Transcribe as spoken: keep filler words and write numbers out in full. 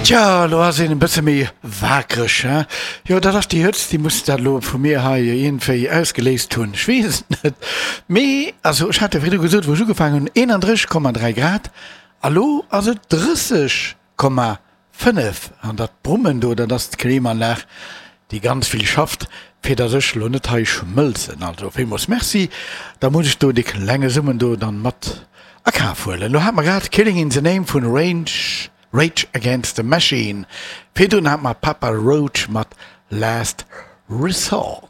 Tja, elo ass een e bësse méi waakreg, hein? Jo, dat ass déi Hëtzt, déi muss dat elo vu mir hei iergendwéi ausgeléist hunn. Ech weess et net. Mee, also ech hat jo virdru gesot, wou ech ugefaangen hunn, eenandrësseg Komma dräi Grad, a lo ass et drësseg Komma fënnef. An dat Brummen do, dat ass d'Klimaanlag, déi ganz vill schafft, fir datt ech elo net hei schmëlzen. Also villmools Merci, da muss ech do dee klenge Summen do dann mat a Kaf huelen. Lo hat mer grad Killing in the Name vun Range. Rage Against the Machine. Virdrun hat mer Papa Roach mat Last Resort.